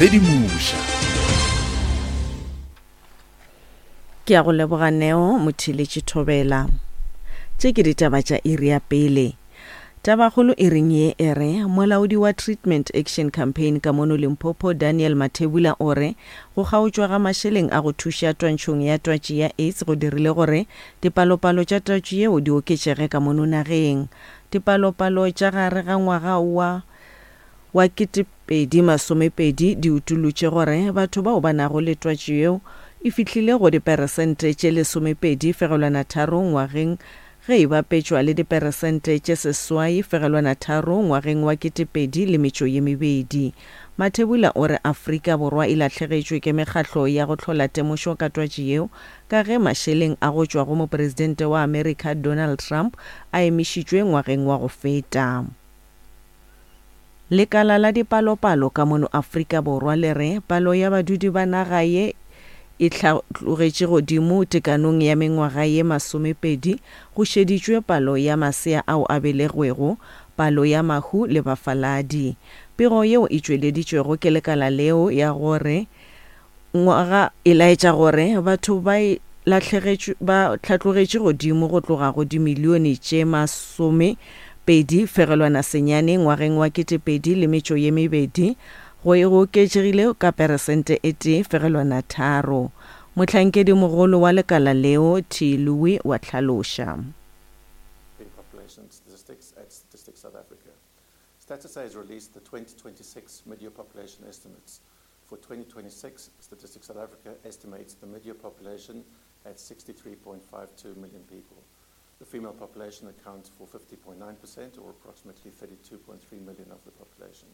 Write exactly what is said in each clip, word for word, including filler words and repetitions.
Sedimoša. Ke a go leboga Neo Motheeletši Thobela. Tše ke ditaba tša iri ya pele. Tabakgolo iring ye e re molaodi wa Treatment Action Campaign ka mono Limpopo Daniel Mathebula o re go kgaotšwa ga mašeleng a go thuša twantšhong ya twatši ya AIDS go dirile gore dipalopalo tša twatši yeo di oketšege ka mono nageng. Dipalopalo tša gare ga ngwaga wa wa ketepedi masomepedi di utollotše gore batho bao ba nago le twatši yeo e fihlile go diperesente tše lesomepedi fegelwana tharo ngwageng ge e bapetšwa le diperesente tše seswai fegelwana tharo ngwageng wa ketepedi le metšo ye mebedi. Mathebula o re Afrika Borwa e lahlegetšwe ke mekgahlo ya go hlola temošo ka twatši yeo ka ge mašeleng a go tšwa go mopresidente wa Amerika Donald Trump a emišitšwe ngwageng wa go feta. Lekala la dipalopalo ka mono Afrika Borwa le re palo ya badudi ba naga ye e hlatlogetše godimo tekanong ya mengwaga ye masomepedi go šeditšwe palo ya masea ao a belegwego, palo ya mahu le bafaladi. Pego yeo e tšweleditšwego ke lekala leo ya gore ngwaga e laetša gore batho ba e lahlegetšwe ba hlatlogetše godimo go tloga go dimilione tše masome pedi fegelwana senyane ngwageng wa ketepedi le metšo ye mebedi go e go oketšegile ka peresente e tee fegelwana tharo. Mohlankedimogolo wa lekala leo T Louis wa hlaloša. In population statistics at Statistics South Africa. StatsSA has released the twenty twenty-six mid-year population estimates. For twenty twenty-six, Statistics South Africa estimates the mid-year population at sixty-three point five two million people. The female population accounts for fifty point nine percent, or approximately thirty-two point three million of the population.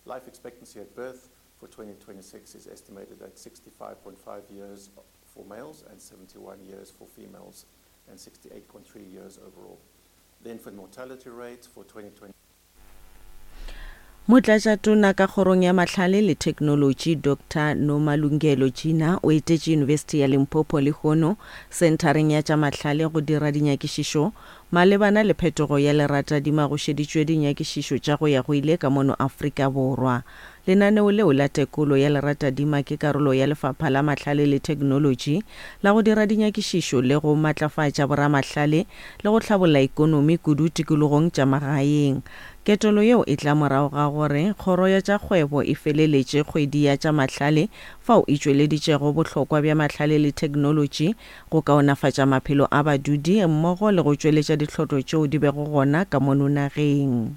Life expectancy at birth for twenty twenty-six is estimated at sixty-five point five years for males and seventy-one years for females, and sixty-eight point three years overall. The infant mortality rate for twenty twenty Motlatšatona ka kgorong ya mahlale le theknolotši Doctor Nomalungelo Gina o etetše Yunibesithi ya Limpopo lehono senthareng ya tša mahlale go dira dinyakišišo malebana le phetogo ya leratadima go šeditšwe dinyakišišo tša go ya go ile ka mono Afrika Borwa. Lenaneo leo la tekolo ya leratadima ke karolo ya lefapha la mahlale le theknolotši la go dira dinyakišišo le go matlafatša boramahlale le go hlabolla ekonomi kudu tikologong tša magaeng. Ketelo yeo e tla morago ga gore kgoro ya tša kgwebo e feleletše kgwedi ya tša mahlale fao e tšweleditšego bohlokwa bja mahlale le theknolotši go kaonafatša maphelo a badudi mmogo le go tšweletša dihlotlo tšeo di bego gona ka mono nageng.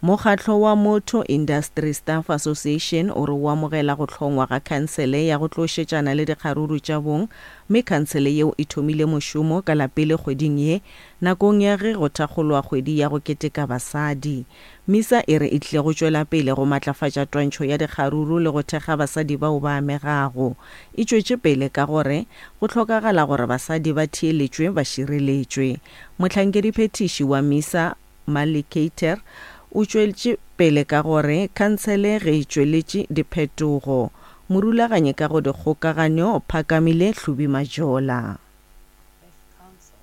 Mokgatlo wa Motor Industry Staff Association o re o amogela go hlongwa ga khansele ya go tlo šetšana le dikgaruru tša bong, mme khansele yeo e thomile mošomo ka la pele kgweding ye nakong ya ge go thakgolwa kgwedi ya go keteka basadi. MISA e re e tlile go tšwela pele go matlafatša twantšho ya dikgaruru le go thekga basadi bao ba amegago. E tšwetše pele ka gore go hlokagala gore basadi ba theeletšwe ba šireletšwe. Mohlankediphethiši wa MISA Malikater o tšwetše pele ka gore khansele ge e tšweletše diphetogo. Morulaganyi ka go dikgokaganyo Phakamile Hlubi Majola. Council,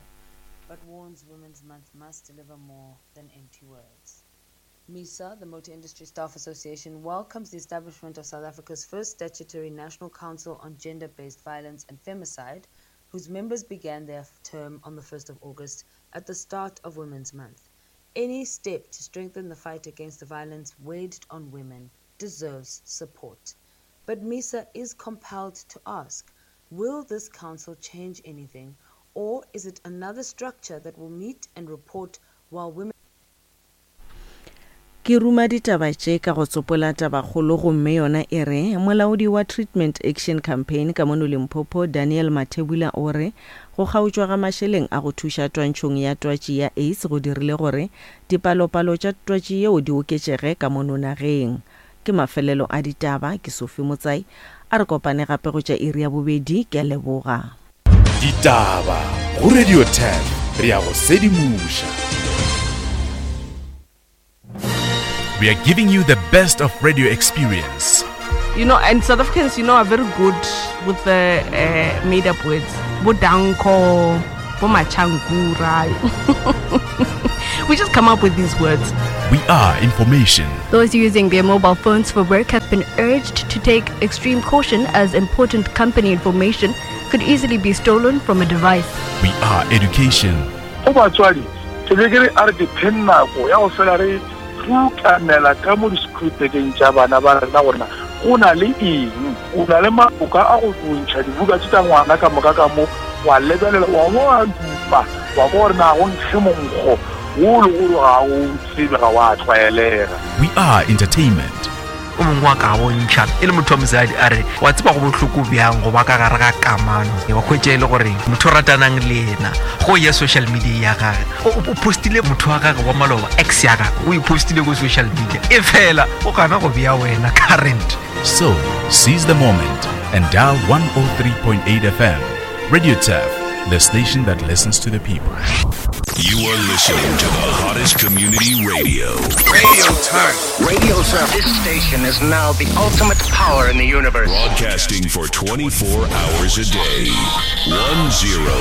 but warns Women's Month must deliver more than empty words. MISA, the Motor Industry Staff Association, welcomes the establishment of South Africa's first statutory National Council on Gender-Based Violence and Femicide, whose members began their term on the first of August at the start of Women's Month. Any step to strengthen the fight against the violence waged on women deserves support. But MISA is compelled to ask, will this council change anything, or is it another structure that will meet and report while women Ke ruma ditaba tše ka go tsopola tabakgolo gomme yona e re molaodi wa Treatment Action Campaign ka mono Limpopo Daniel Mathebula o re go kgaotšwa ga mašeleng a go thuša twantšhong ya twatši ya AIDS go dirile gore dipalopalo tša twatši yeo di oketšege ka mono nageng. Ke mafelelo a ditaba, ke Sophie Motsai, a re kopane gape go tša iri ya bobedi, ke a leboga. Ditaba go Radio ten, re ya go sedimoša. We are giving you the best of radio experience. You know, and South Africans, you know, are very good with the, uh, made-up words. Bo danko, bo machankura. We just come up with these words. We are information. Those using their mobile phones for work have been urged to take extreme caution as important company information could easily be stolen from a device. We are education. Go batswadi ke be ke re a re dipheng nako ya go fela re rutamela ka mo di-screwtekeng tša bana ba rena gorena go na le eng o na le maboka a go bontšha dibuka tše tša ngwana ka moka ka mo wa lebelela wa bo wa dupa wa kwa gore na go nkge monkgo wo le gore ga o tsebe ga wa tlwaelega. We are entertainment. O mongwe wa ka bontšha e le motho wa mosadi a re wa tseba go bohloko bjang go ba ka gare ga kamano wa hwetša e le gore motho o ratanang le yena go ya social media ya gage o postile motho wa gage wa maloba ex ya gage o e postile ko social media e fela o gana go bea wena current. So, seize the moment and dial one oh three point eight F M. Radio Turf, the station that listens to the people. You are listening to the hottest community radio. Radio Turf. Radio Turf. This station is now the ultimate power in the universe. Broadcasting for twenty-four hours a day. one zero